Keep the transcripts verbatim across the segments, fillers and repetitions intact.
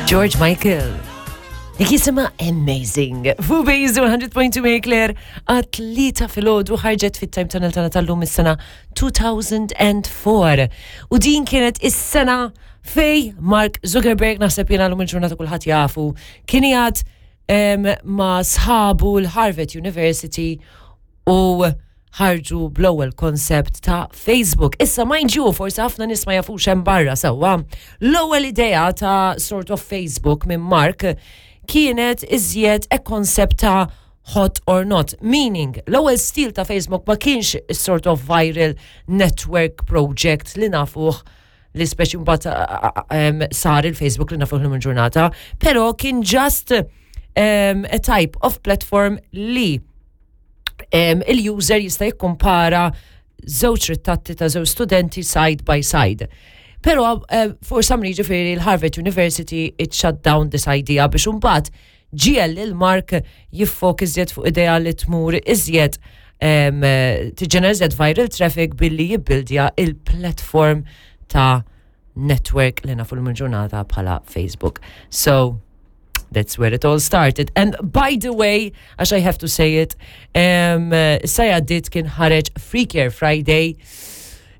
George Michael. Dik jisimha Amazing. Fu Base one hundred point two Marie Claire għat-tlieta filgħodu ħarġet fit-time tunnel tagħna tal-lum is-sena two thousand and four. U din kienet is-sena fej Mark Zuckerberg, naħseb jiena l-lum il-ġurnata kulħadd jafu, kien jgħad em, ma' sħabu l-Harvard University u ħarġu bl-ewwel concept ta' Facebook. Issa, mind you, forsi ħafna nies ma jafux hemm barra sewwa. L-ewwel idea ta' sort of Facebook minn Mark kienet iżjed a concept ta' hot or not. Meaning, l-ewwel stil ta' Facebook ma kienx sort of viral network project li nafuh li speċi mbagħad sar il-Facebook li nafuh l ġurnata, però kien just um, a type of platform li um, il-user jista' jikkumpara żewġ ritratti ta' żewġ studenti side by side. Però uh, for some reason ġifieri l-Harvard University, it shut down this idea biex imbagħad ġiegħel lil Mark jiffoka iżjed fuq idea li tmur iżjed um, tiġġenera iżjed viral traffic billi jibbildja il-platform ta' network li nafu l-ġurnata bħala Facebook. So, that's where it all started. And by the way, għax I have to say it, um, sa dit kien ħareġ Free Care Friday.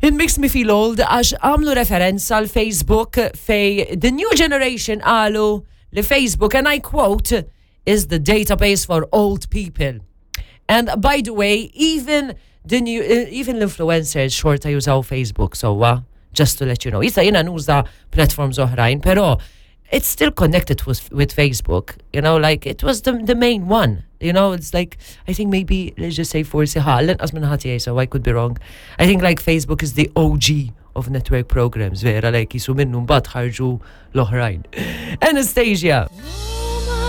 It makes me feel old għax għamlu referenza għal Facebook fej the new generation qalu li Facebook, and I quote, "is the database for old people." And by the way, even the new, uh, even l-influencers xorta jużaw Facebook, so uh, just to let you know. Issa jiena nuża platforms oħrajn, pero it's still connected with, with Facebook. You know, like it was the, the main one. You know, it's like, I think maybe, let's just say forsi ħa, l-inqas minn ħati, so I could be wrong. I think like Facebook is the O G of network programs, vera, like jisu minnu mbagħad ħarġu l-oħrajn. Anastasia.